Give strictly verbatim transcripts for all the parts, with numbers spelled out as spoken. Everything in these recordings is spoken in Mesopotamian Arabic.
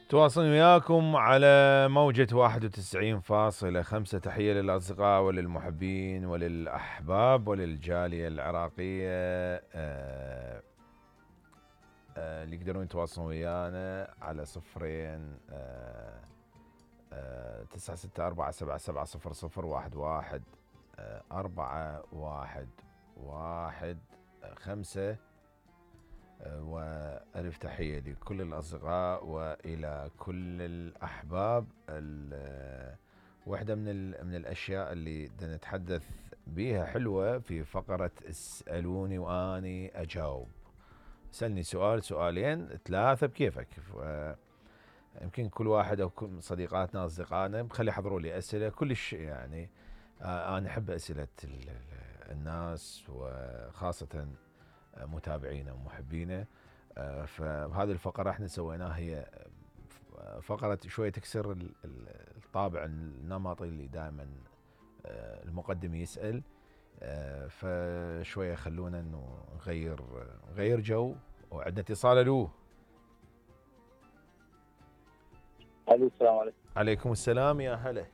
تواصل وياكم على موجة واحد وتسعين فاصلة خمسة. تحية للأصدقاء وللمحبين وللأحباب وللجالية العراقية آه آه اللي يقدرون يتواصلون ويانا على صفرين آه آه تسعة ستة أربعة سبعة سبعة صفر صفر واحد واحد آه أربعة واحد واحد خمسة. وألف تحية لكل الأصدقاء وإلى كل الأحباب. واحدة من من الأشياء اللي نتحدث بيها حلوة في فقرة اسألوني وأني أجاوب. سألني سؤال سؤالين ثلاثة بكيفك. يمكن كل واحد أو كل صديقاتنا أصدقائنا بخلي يحضروا لي أسئلة كلش يعني أنا أحب أسئلة الناس وخاصة متابعينا ومحبينا. فهذه الفقرة احنا سويناها هي فقرة شوية تكسر الطابع النمطي اللي دائما المقدم يسأل. فشوية خلونا انه نغير نغير جو. وعندنا اتصال. الو الو السلام عليكم. عليكم السلام يا هلا.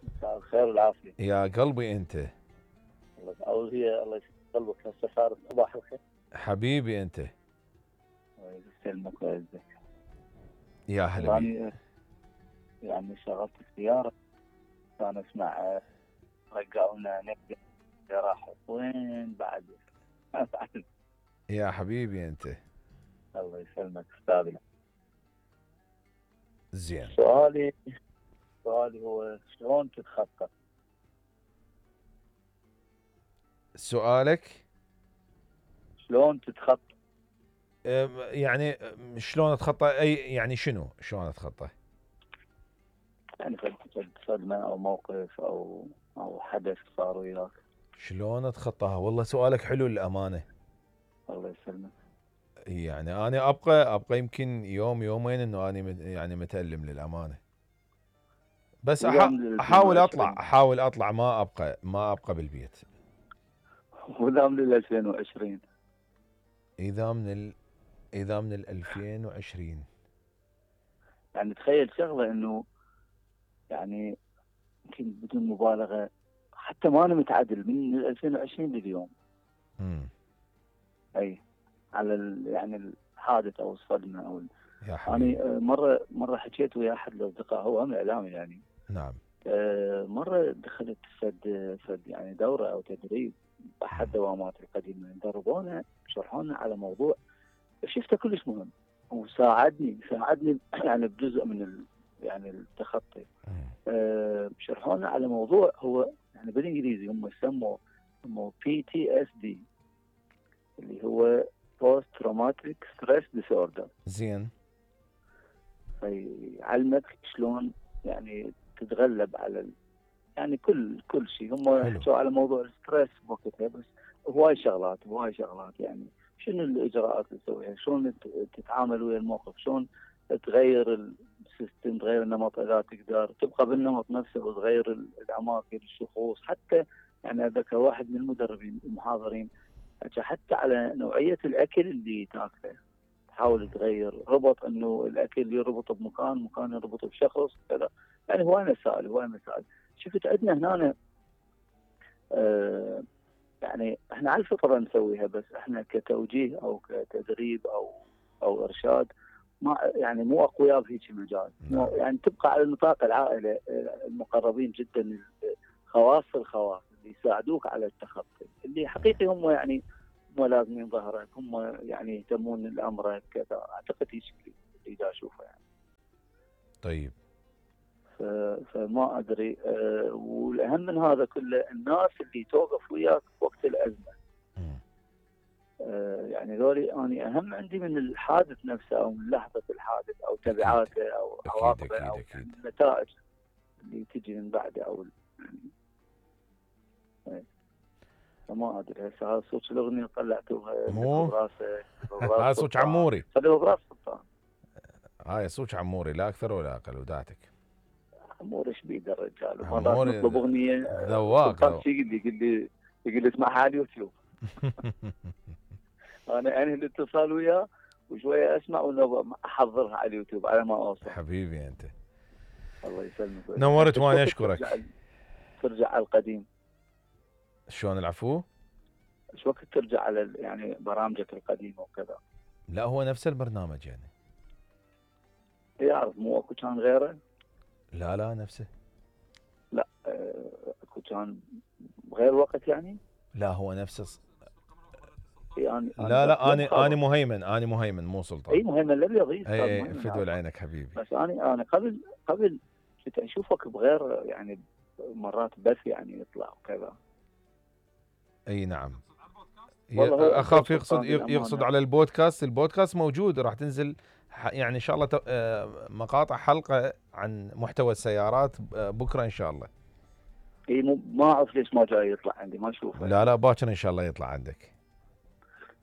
مساء الخير والعافية يا قلبي انت. اول هي الله قلبك هسه صار صباح الخير حبيبي انت. الله يسلمك ويعزك. يا هلا بيك. يعني يعني شغلت السيارة كان اسمع رجعونا نقدر راح وين بعد. يا حبيبي انت. الله يسلمك استاذنا. زين. سؤالي سؤالي هو شلون تتخطى؟ سؤالك شلون تتخطى؟ يعني شلون اتخطى اي يعني شنو شلون اتخطى؟ يعني صدمة او موقف او او حدث صار وياك. شلون اتخطاها؟ والله سؤالك حلو للامانه. الله يسلمك. يعني انا ابقى ابقى يمكن يوم يومين انه انا يعني متألم للامانه. بس احاول اطلع احاول اطلع ما ابقى ما ابقى بالبيت. وذا من ألفين وعشرين. اذا من ال... اذا من ألفين وعشرين. يعني تخيل شغله انه يعني يمكن بدون مبالغه حتى ما انا متعدل من ألفين وعشرين لليوم. امم اي على ال... يعني الحادث او الصدمه او ال... يا حبيبي. انا مره مره حكيت ويا احد الاصدقاء هو هم اعلامي يعني. نعم. مره دخلت فد فد يعني دوره او تدريب احد دوامات القديمه دربونا شرحونا على موضوع شفته كلش مهم وساعدني ساعدني يعني بجزء من ال... يعني التخطي. أه شرحونا على موضوع هو يعني بالانجليزي هم سموه سموه بي تي اس دي اللي هو بوست تروماتيك ستريس ديسوردر. زين. فيعلمك شلون يعني تتغلب على ال... يعني كل كل شيء هم حكوا على موضوع الستريس بوقتها بس هواي شغلات هواي شغلات يعني شنو الاجراءات اللي تسويها شلون تتعامل ويا الموقف شلون تغير السيستم تغير النمط اذا تقدر تبقى بالنمط نفسه وتغير الاماكن الشخوص حتى يعني اتذكر واحد من المدربين المحاضرين حتى على نوعيه الاكل اللي تاكله تحاول تغير ربط انه الاكل يربط بمكان مكان يربط بشخص كذا يعني هواي مسائل هواي مسائل. شفت عندنا هنا آه يعني احنا على الفطره نسويها بس احنا كتوجيه او كتدريب او او ارشاد ما يعني مو اقوياء في هيك مجال. نعم. يعني تبقى على نطاق العائله المقربين جدا خواص الخواص اللي يساعدوك على التخطي اللي حقيقي هم يعني هم لازمين ظهرك هم يعني يهتمون لامرك كذا اعتقد هيك اللي دا اشوفه يعني. طيب. فما ادري أه والاهم من هذا كله الناس اللي توقف وياك وقت الازمه. أه يعني ذولي اني اهم عندي من الحادث نفسه او من لحظه الحادث او تبعاته او عواقبه او يعني النتائج اللي تجي من بعده او يعني فما ادري هسه هذا صوت الاغنيه طلعتوها مو براسك هذا صوت عموري. خليه براس سلطان. هاي صوت عموري لا اكثر ولا اقل وداتك. عموري ايش بيده الرجال عموري نطلب اغنيه ذواق يقول لي يقول لي يقول لي اسمعها على اليوتيوب. انا انهي الاتصال وياه وشويه اسمع واحضرها على اليوتيوب على ما اوصل. حبيبي انت. الله يسلمك. نورت وانا اشكرك. ترجع, ترجع على القديم. شلون العفو؟ ايش وقت ترجع على يعني برامجك القديمه وكذا؟ لا هو نفس البرنامج يعني. يعرف مو اكو كان غيره؟ لا لا نفسه. لا اكو كان غير وقت يعني؟ لا هو نفسه. يعني لا لا انا انا مهيمن انا مهيمن مو سلطان. اي مهيمن لا يضيف. اي اي فدوى عينك حبيبي. بس انا انا قبل قبل كنت اشوفك بغير يعني مرات بث يعني يطلع وكذا. اي نعم. اخاف يقصد الأمانة. يقصد على البودكاست. البودكاست موجود راح تنزل يعني ان شاء الله مقاطع حلقه عن محتوى السيارات بكره ان شاء الله. اي ما اعرف ليش ما جاي يطلع عندي ما اشوفه. لا لا باكر ان شاء الله يطلع عندك.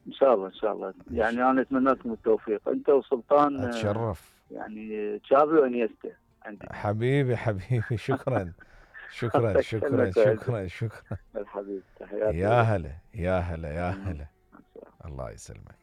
ان شاء الله ان شاء الله يعني انا اتمنى لكم التوفيق انت وسلطان. اتشرف. يعني تشافي وانيستا عندي. حبيبي حبيبي شكرا شكرا شكرا شكرا شكرا. الحبيب تحياتي. يا هلا يا هلا يا هلا. الله يسلمك.